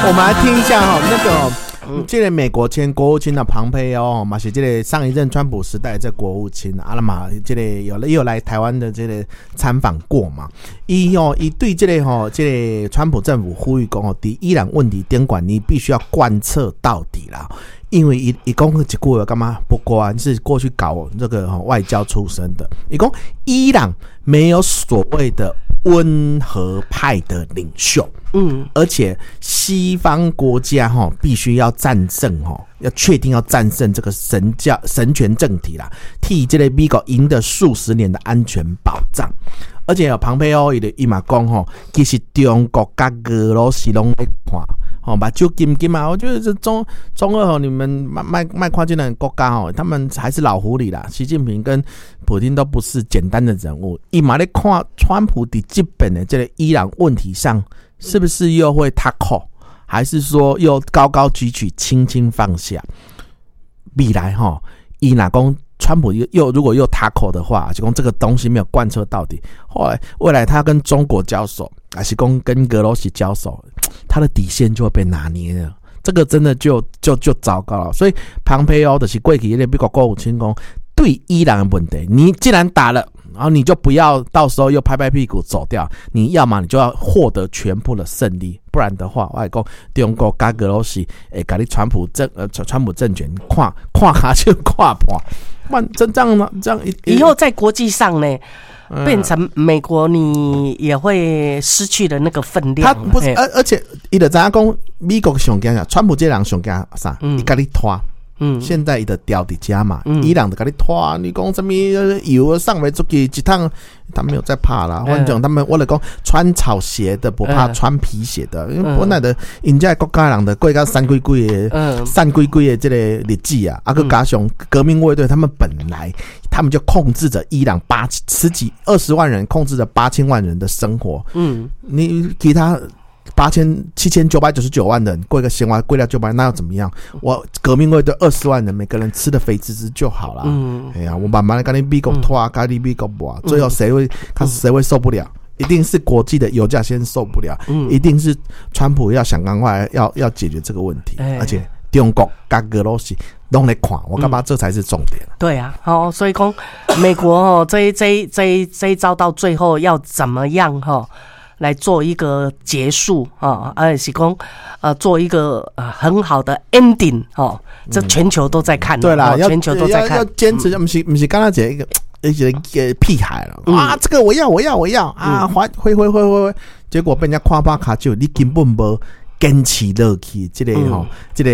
我們來聽一下哈，那個這個美國前國務卿的龐佩奧嘛，是這個上一任川普時代這國務卿啊嘛，這個有來台灣的這個參訪過嘛。伊哦，伊對這個吼，這個川普政府呼籲講哦，佇伊朗問題頂懸，你必須要貫徹到底啦。因為伊伊講一句話，感覺不管是過去搞這個外交出身的，伊講伊朗沒有所謂的溫和派的領袖，而且西方國家哈必須要戰勝哈，要確定要戰勝這個神教神權政體啦，替這個美國贏得數十年的安全保障。而且龐佩奧伊伊嘛講吼，其實中國佮俄羅斯攏咧看，吼目睭金金嘛，我覺得這中俄吼，你們莫莫看這兩個國家吼，他們還是老狐狸啦。習近平跟普丁都不是簡單的人物，伊嘛咧看川普佇這邊的這個伊朗問題上，是不是又會タコ，還是說又高高舉起，輕輕放下？未來吼，伊若講川普又如果又タコ的話，就講這個東西沒有貫徹到底，後來未來他跟中國交手，還是講跟俄羅斯交手，他的底線就會被拿捏了。這個真的就糟糕了。所以龐佩奧就是過去那個美國國務卿講，對伊朗的問題，你既然打了，然後你就不要到時候又拍拍屁股走掉，你要麼你就要獲得全部的勝利，不然的話，我講中國佮俄羅斯會共你川普政權看看跤手看破，萬真這樣嗎？這樣以後在國際上呢，變成美國，你也會失去了那個分量。他不是，而且伊就知影講美國上驚啥，川普這個人上驚啥？伊共你拖。現在伊就牢佇遮嘛，伊朗就共你拖，你講啥物油送袂出去，一趟他沒有在怕啦。反正他們我來講，穿草鞋的不怕穿皮鞋的，因為本來的𪜶這國家人的過甲散鬼鬼的，散鬼鬼的這個日子啊，啊，閣加上革命衛隊，他們本來他們就控制着伊朗八十幾二十萬人，控制着8000萬人的生活。你其他7999萬人過一個生活過了九百，那又怎麼樣？我革命衛隊20萬人，每個人吃的肥滋滋就好了。哎呀，我慢慢的共你美國拖，共你美國磨，最後誰會他誰會受不了？一定是國際的油價先受不了，一定是川普要想趕快要解決這個問題，而且中國佮俄羅斯攏咧看，我感覺這才是重點。對啊，好，所以講美國哦，這一招到最後要怎麼樣哈？來做一個結束啊，而是講做一個很好的 ending 哦，這全球都在看。對啦，全球都在看。要堅持，不是剛剛講一個屁孩了啊！這個我要，我要，我要啊！揮揮揮揮揮，結果被人家看破跤手，你根本無堅持落去，這個吼，這個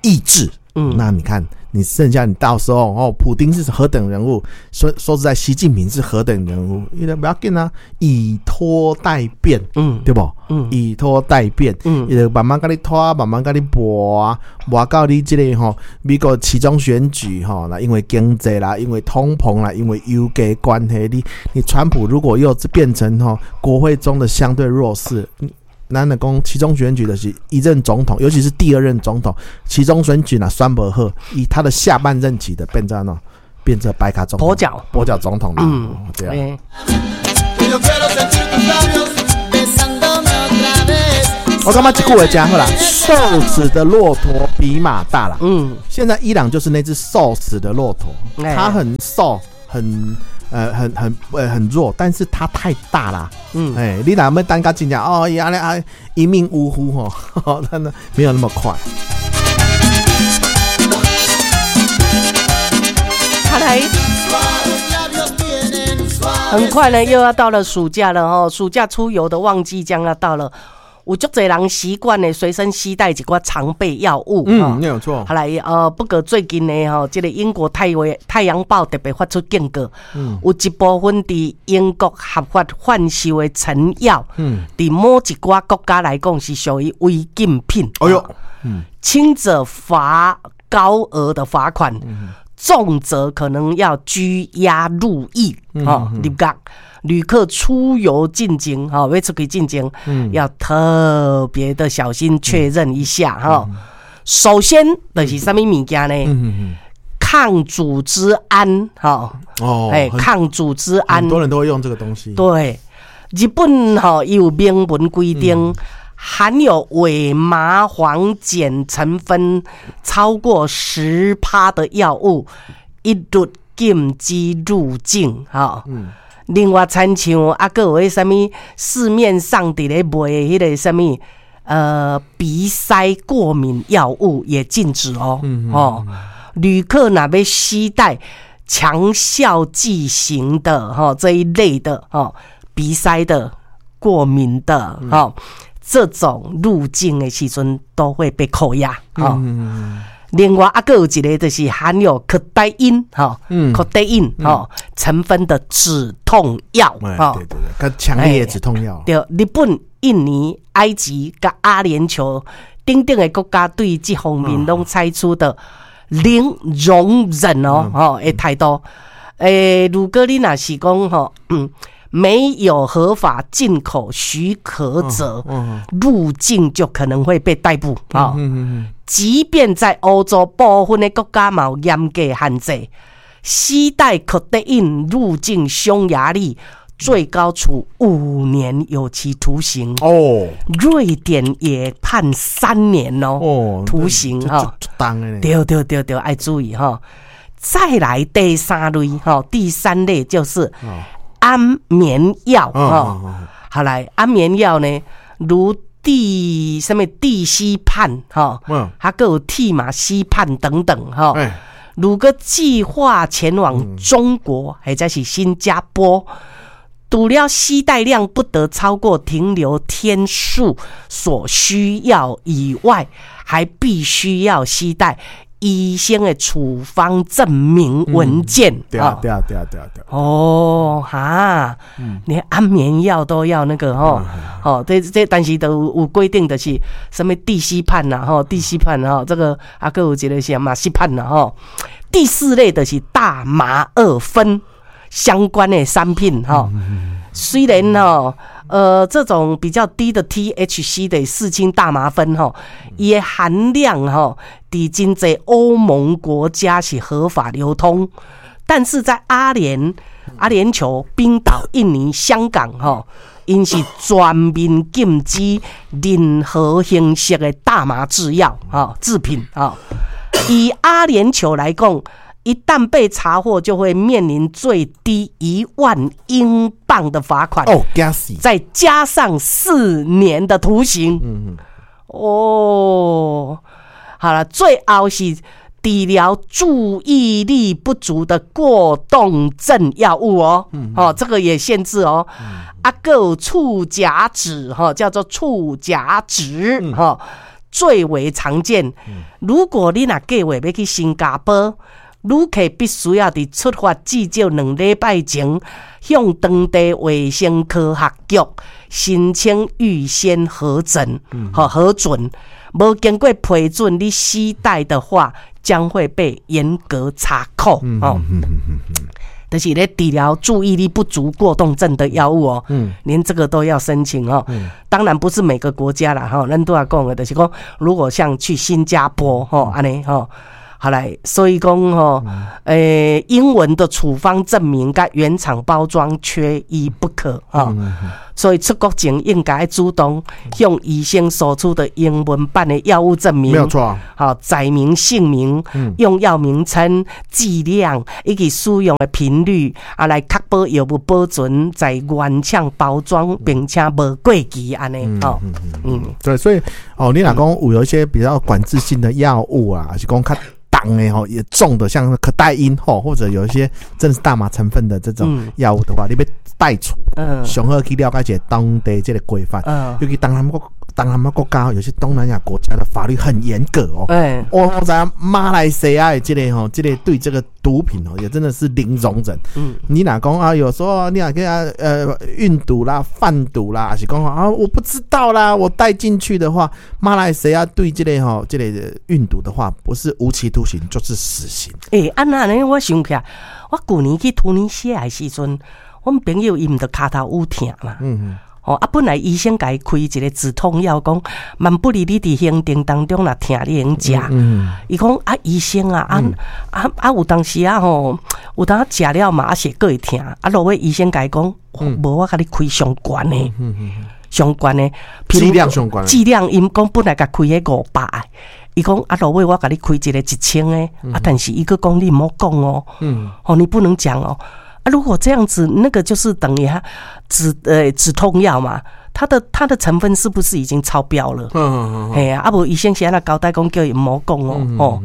意志。那你看，你剩下你到時候哦，普丁是何等人物？說實在，習近平是何等人物？伊就不要緊啊，以拖待變，對無？以拖待變，伊就慢慢共你拖，慢慢共你磨，磨到你這個吼，美國期中選舉吼，那因為經濟啦，因為通膨啦，因為油價關係，你川普如果又變成吼國會中的相對弱勢。咱來講，期中選舉的是一任總統，尤其是第二任總統，期中選舉若選無好，以他的下半任期的變成喏，變成白卡總統，跛腳，跛腳總統。對啊。我感覺這句話講好啦，瘦死的駱駝比馬大啦。現在伊朗就是那隻瘦死的駱駝，它很瘦，很弱，但是它太大啦。哎，你若欲等到真正哦，伊按呢啊一命嗚呼吼，真的沒有那麼快。看來很快呢，又要到了暑假了哦，暑假出遊的旺季將要到了。有足濟人習慣呢，隨身攜帶一寡常備藥物。嗯，沒有錯。後來不過最近呢，吼，這個英國太陽報特別發出警告，有一部分佇英國合法販售的成藥，佇某一寡國家來講是屬於違禁品。哎喲，輕者罰高額的罰款，重則可能要拘押入獄，吼，入獄。旅客出遊進前，吼，欲出去進前，要特別的小心確認一下，吼。首先就是啥物物件呢？抗組織胺，吼，哦，哎，抗組織胺，很多人都會用這個東西。對，日本吼，伊有明文規定，含有伪麻黃鹼成分超過10%的藥物，一律禁止入境。吼，另外，親像啊，閣有彼啥物市面上佇咧賣的彼个啥物，鼻塞過敏藥物也禁止哦。哦，旅客若欲攜帶強效劑型的吼這一類的吼鼻塞的、過敏的吼，這種入境的時陣都會被扣押。吼，另外啊，閣有一個就是含有可待因吼，可待因吼成分的止痛藥。吼，對對對，較強烈的止痛藥。對，日本、印尼、埃及佮阿聯酋等等的國家對這方面攏採取的零容忍哦，吼的態度。如果你若是講吼，沒有合法進口許可者入境，就可能會被逮捕啊。即便在歐洲部分的國家嘛有嚴格限制，攜帶可待因入境匈牙利，最高處5年有期徒刑。哦，瑞典也判3年哦，徒刑哈。對對對對，愛注意哈。再來第三類哈，第三類就是安眠藥哈。好來，安眠藥呢，如地啥物地西泮哈，還閣有替馬西泮等等哈。如果計劃前往中國或者是新加坡，除了攜帶量不得超過停留天數所需要以外，還必須要攜帶醫生的處方證明文件。對啊，對啊，對啊，對啊，對。哦，哈，連安眠藥都要那個吼，哦，這但是都有規定的是什麼地西泮呐，吼，地西泮吼，這個啊，閣有一個是馬西泮啦，吼。第四類的是大麻二酚相關的商品，吼。雖然吼，這種比較低的 THC 的四氫大麻酚吼，伊的含量吼，佇真濟歐盟國家是合法流通，但是在阿聯酋、冰島、印尼、香港吼，𪜶是全面禁止任何形式的大麻製藥吼製品吼。以阿聯酋來講，一旦被查獲，就會面臨最低1萬英鎊的罰款哦，驚死！再加上4年的徒刑。哦，好了，最後是治療注意力不足的過動症藥物哦，哦，這個也限制哦。啊，閣有醋甲酯哈，叫做醋甲酯哈，最為常見。如果你若計劃欲去新加坡，旅客必須要佇出發至少2禮拜前，向當地衛生科學局申請預先核准，和核准。無經過批准，你攜帶的話，將會被嚴格查扣。哦，就是咧治療注意力不足過動症的藥物哦，連這個都要申請哦。當然不是每個國家啦，吼，咱拄仔講的，就是講，如果像去新加坡，吼，按呢，吼。好來，所以講吼，英文的處方證明佮原廠包裝缺一不可哈。所以出國前應該主動向醫生索取的英文版的藥物證明，沒有錯。好，載明姓名、用藥名稱、劑量以及使用的頻率，啊，來確保藥物保存在原廠包裝，並且無過期按呢。吼，對，所以哦，你若講有一些比較管制性的藥物啊，是講較重的吼，也重的，像可待因吼，或者有一些真的是大麻成分的這種藥物的話，你欲帶出，上好去了解一下當地這個規範，尤其東南亞國家，有些東南亞國家的法律很嚴格哦。我知影馬來西亞的這個吼，這個對這個毒品哦，也真的是零容忍。你若講啊，有時候你若給他運毒啦、販毒啦，還是講啊，我不知道啦，我帶進去的話，馬來西亞對這個吼，這個運毒的話，不是無期徒刑就是死刑。欸，按呢我想起來，我舊年去突尼西亞的時陣，阮朋友伊毋著跤頭趺疼嘛。哦，啊，本來醫生共伊開一個止痛藥，講萬不利你佇行程當中若疼，你會用食。伊講啊，醫生啊，啊啊啊，有當時啊吼，有當食了嘛，啊是閣會疼。啊，落尾醫生共伊講，無我共你開上懸的。上懸的，劑量上懸。劑量，𪜶講本來共開彼500的，伊講啊，落尾我共你開一个1000的，啊，但是伊閣講你毋好講哦，哦，你不能講哦，啊，如果這樣子，那個就是等於他止痛藥嘛，它的成分是不是已經超標了？嘿啊，啊無醫生是按怎交代講叫伊毋好講哦，吼，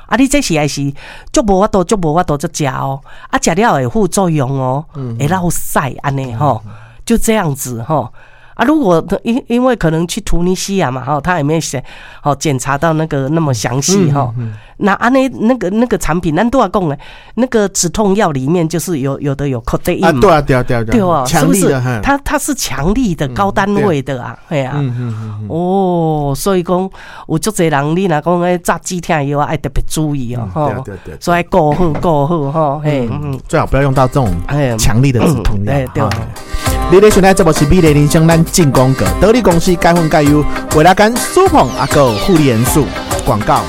啊，你這是還是足無法度，足無法度才食哦，啊，食了會副作用哦，會落屎按呢吼，就這樣子吼。啊，如果因為可能去突尼西亞嘛，吼，他也沒有寫，吼，檢查到那個那麼詳細吼。那按呢那個產品，咱拄仔講的，那個止痛藥裡面就是有的有可待因啊，對啊，對啊，對啊，對啊，是不是？它是強力的高單位的啊，係啊，哦，所以講有足濟人，你若講咧炸止痛藥啊，愛特別注意哦，吼，所以顧好顧好吼，嘿，最好不要用到這種強力的止痛藥，對。你咧收聽節目是美麗人生，咱進廣告，得力公司改粉改優，為了跟蘇鵬阿哥護理元素廣告。